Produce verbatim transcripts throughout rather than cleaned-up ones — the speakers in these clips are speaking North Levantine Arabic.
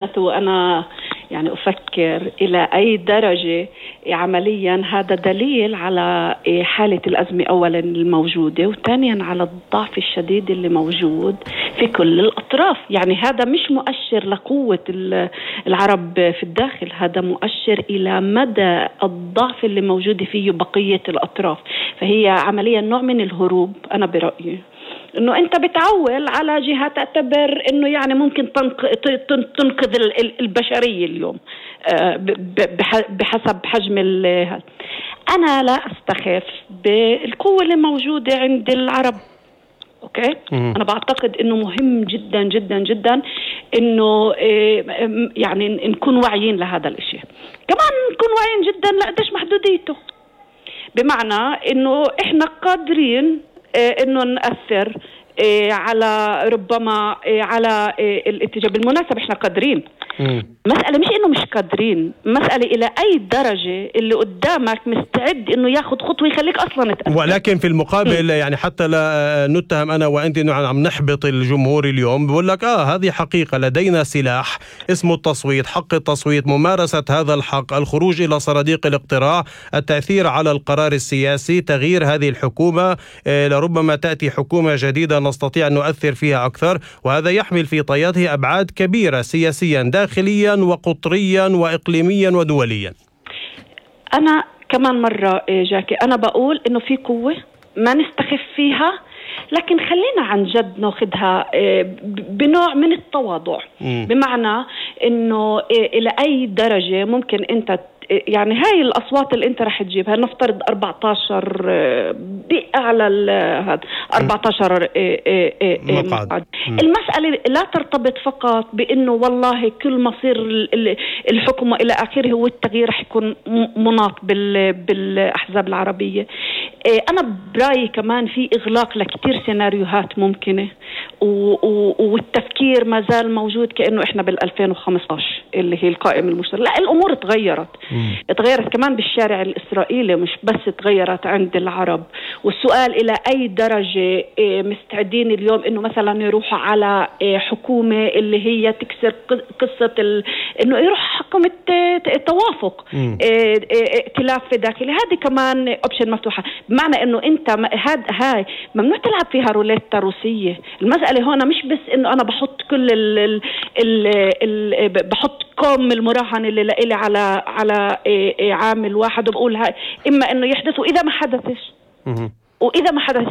وأنا يعني أفكر إلى أي درجة عمليا هذا دليل على حالة الأزمة أولا الموجودة، وثانيا على الضعف الشديد اللي موجود في كل الأطراف. يعني هذا مش مؤشر لقوة العرب في الداخل، هذا مؤشر إلى مدى الضعف اللي موجود فيه بقية الأطراف. فهي عمليا نوع من الهروب أنا برأيي، إنه أنت بتعول على جهة تعتبر إنه يعني ممكن تنقذ البشرية اليوم بحسب حجم هذا. أنا لا أستخف بالقوة اللي موجودة عند العرب. أوكي، أنا بعتقد إنه مهم جدا جدا جدا إنه يعني نكون واعيين لهذا الإشي، كمان نكون واعيين جدا لقديش محدوديته، بمعنى إنه إحنا قادرين إنه نأثر على ربما على الاتجاه. بالمناسبة إحنا قادرين، مسألة مش إنه مش قادرين، مسألة إلى أي درجة اللي قدامك مستعد إنه ياخد خطوة يخليك أصلا تأثر. ولكن في المقابل م. يعني حتى لا نتهم أنا وأنت إنه عم نحبط الجمهور اليوم، بقول لك آه هذه حقيقة، لدينا سلاح اسمه التصويت، حق التصويت، ممارسة هذا الحق، الخروج إلى صناديق الاقتراع، التأثير على القرار السياسي، تغيير هذه الحكومة، لربما تأتي حكومة جديدة نستطيع أن نؤثر فيها أكثر، وهذا يحمل في طياته أبعاد كبيرة سياسيا داخليا وقطريا وإقليميا ودوليا. أنا كمان مرة جاكي أنا بقول إنه في قوة ما نستخف فيها، لكن خلينا عن جد ناخدها بنوع من التواضع. م. بمعنى إنه إلى أي درجة ممكن أنت يعني هاي الأصوات اللي أنت رح تجيبها، نفترض أربعة عشر بأعلى هذا أربعة عشر مقعد. المسألة لا ترتبط فقط بأنه والله كل مصير الحكم إلى آخره هو التغيير رح يكون مناط بالأحزاب العربية. أنا برأيي كمان في إغلاق لكتير سيناريوهات ممكنة، والتفكير ما زال موجود كأنه إحنا بالألفين وخمسة عشر اللي هي القائمة المشتركة. لا، الأمور تغيرت تغيرت كمان بالشارع الإسرائيلي، مش بس تغيرت عند العرب. والسؤال إلى أي درجة مستعدين اليوم إنه مثلا يروحوا على حكومة اللي هي تكسر قصة ال... إنه يروح حكومة توافق ائتلاف داخلي. هذه كمان أوبشن مفتوحة، بمعنى إنه أنت هاد هاي ممنوع تلعب فيها روليتا روسية. المسألة هنا مش بس إنه أنا بحط كل ال ال ال ال بحط كم المراهنة اللي لإلي على على عامل واحد وبقول هاي إما إنه يحدث وإذا ما حدثش وإذا ما حدث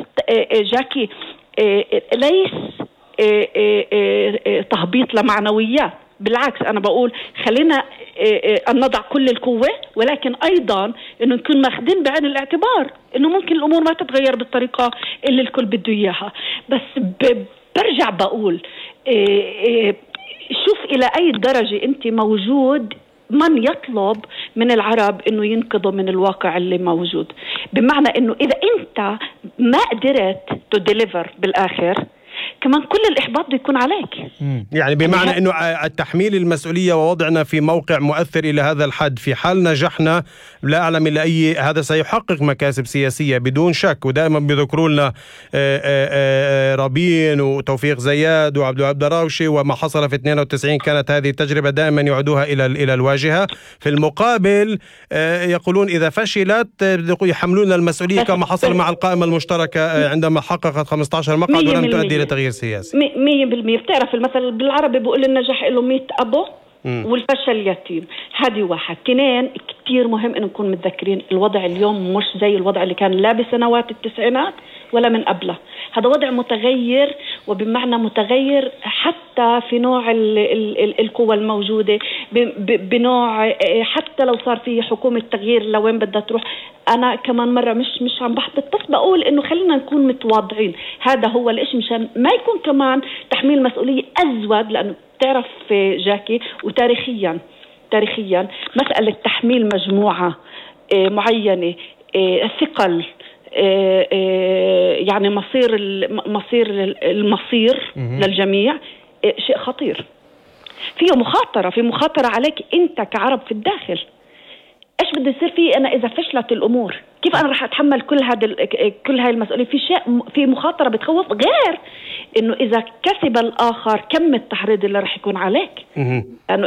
جاكي ليس تهبيط لمعنويات، بالعكس أنا بقول خلينا أن نضع كل القوة، ولكن أيضا إنه نكون ماخدين بعين الاعتبار إنه ممكن الأمور ما تتغير بالطريقة اللي الكل بده إياها. بس برجع بقول شوف إلى أي درجة أنت موجود من يطلب من العرب إنه ينقذوا من الواقع اللي موجود. بمعنى إنه إذا أنت ما قدرت تديليفر بالآخر كمان كل الإحباط بده يكون عليك. يعني بمعنى أنه التحميل المسؤولية ووضعنا في موقع مؤثر إلى هذا الحد، في حال نجحنا لا أعلم إلا أي هذا سيحقق مكاسب سياسية بدون شك. ودائما بذكروا لنا رابين وتوفيق زياد وعبد الوهاب دراوشي وما حصل في اثنين وتسعين، كانت هذه التجربة دائما يعودوها إلى إلى الواجهة. في المقابل يقولون إذا فشلت يحملون المسؤولية كما حصل مع القائمة المشتركة عندما حققت خمسة عشر مقعد ولم تؤدي إلى تغيير سياسي. مية بالمية. بتعرف المثل بالعربي بيقول النجاح له مية أبو والفشل يتيم. هذه واحد. اثنين، كتير مهم إن نكون متذكرين الوضع اليوم مش زي الوضع اللي كان لا بسنوات التسعينات ولا من قبله. هذا وضع متغير، وبمعنى متغير حتى في نوع ال ال ال القوى الموجودة، بنوع حتى لو صار فيه حكومة تغيير لوين بدها تروح. أنا كمان مرة مش مش عم بحبط، بس بقول إنه خلينا نكون متواضعين. هذا هو الإشي مشان ما يكون كمان تحميل مسؤولية أزود، لأنه تعرف جاكي وتاريخيا تاريخيا مسألة تحميل مجموعة معينة ثقل يعني مصير مصير المصير للجميع شيء خطير، فيه مخاطرة في مخاطرة عليك أنت كعرب في الداخل. إيش بده يصير فيه أنا إذا فشلت الأمور؟ كيف انا رح اتحمل كل هذا كل هاي المسؤوليه؟ في شيء، في مخاطره بتخوف، غير انه اذا كسب الاخر كم التحريض اللي رح يكون عليك.